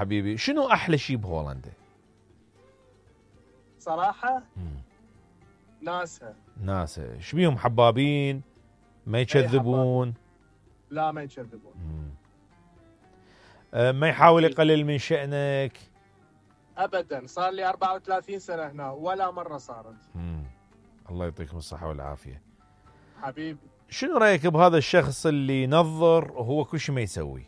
حبيبي. شنو احلى شيء بهولندا؟ صراحة ناسها ايش بيهم؟ حبابين؟ ما يكذبون؟ لا ما يكذبون. ما يحاول يقلل من شأنك؟ ابدا. صار لي 34 سنة هنا ولا مرة صارت. الله يعطيكم الصحة والعافية حبيبي. شنو رأيك بهذا الشخص اللي ينظر وهو كل شيء ما يسوي؟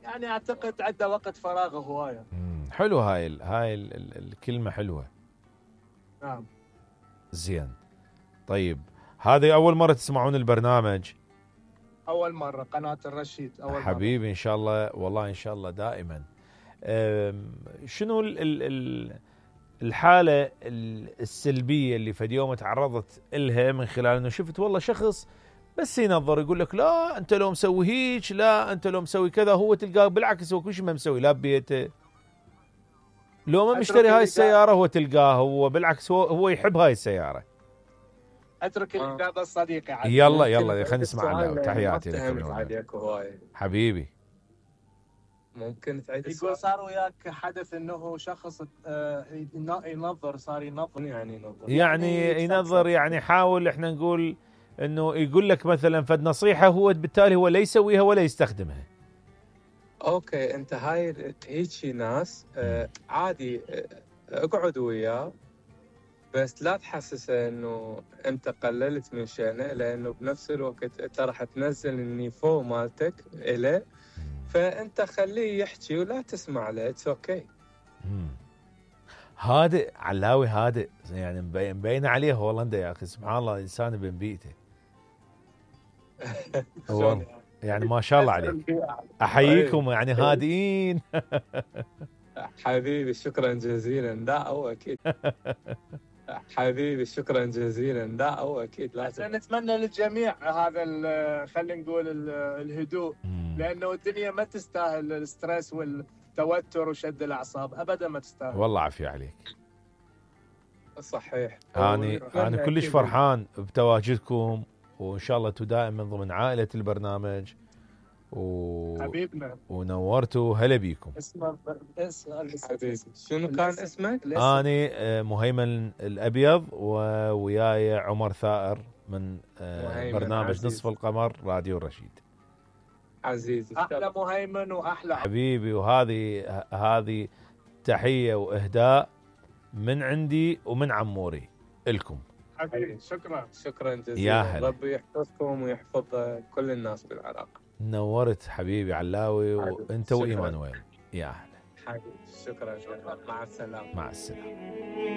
يعني اعتقد عنده وقت فراغ هواية. حلو. هاي الكلمة حلوة. نعم. زين. طيب هذه أول مرة تسمعون البرنامج؟ أول مرة. قناة الرشيد أول حبيبي مرة. إن شاء الله. والله إن شاء الله دائما. شنو الحالة السلبية اللي فد يوم تعرضت إلها من خلال أنه شفت والله شخص بس ينظر يقول لك لا أنت لو مسوي هيك، لا أنت لو مسوي كذا، هو تلقاه بالعكس هو كل شيء ما مسوي، لا ببيته لو ما مشتري هاي السيارة هو تلقاه هو بالعكس هو يحب هاي السيارة. اترك الإجابة الصديقة. يلا خلينا نسمع عنه. تحياتي لك حبيبي. ممكن تعيد السؤال؟ يقول صار وياك حدث انه شخص ينظر، صار ينظر. يعني ينظر يعني حاول احنا نقول انه يقول لك مثلا فد نصيحة هو بالتالي هو لا يسويها ولا يستخدمها. اوكي انت هاي هيك ناس عادي اقعد وياه بس لا تحسسه انه انت قللت من شأنه، لانه بنفس الوقت انت راح تنزل النيفو مالتك إله، فانت خليه يحكي ولا تسمع له. اتس اوكي. هادئ علاوي، هادئ يعني مبين عليه هولندا يا اخي. سبحان الله انسان بين بيئته. يعني ما شاء الله عليك. احييكم يعني هادئين. حبيبي شكرا جزيلا. لا هو اكيد. حبيبي شكرا جزيلا. لا هو اكيد لازم. نتمنى للجميع هذا خلينا نقول الهدوء، لانه الدنيا ما تستاهل الستريس والتوتر وشد الاعصاب، ابدا ما تستاهل. والله عافية عليك. صحيح. انا كلش فرحان بتواجدكم، وان شاء الله دائما من ضمن عائلة البرنامج حبيبنا ونورتوا. هلا بيكم. حبيبي شنو كان اسمك؟ أنا مهيمن الأبيض، وياي عمر ثائر من برنامج عزيز. نصف القمر راديو الرشيد. عزيزي أحلى مهيمن وأحلى حبيبي. وهذه تحية وإهداء من عندي ومن عموري إلكم. حبيبي شكرا جزيلا. ربي يحفظكم ويحفظ كل الناس بالعراق. نورت حبيبي علاوي. وانت وايمانويل. يا اهلا حبيبي. شكرا. مع السلامه. مع السلامه.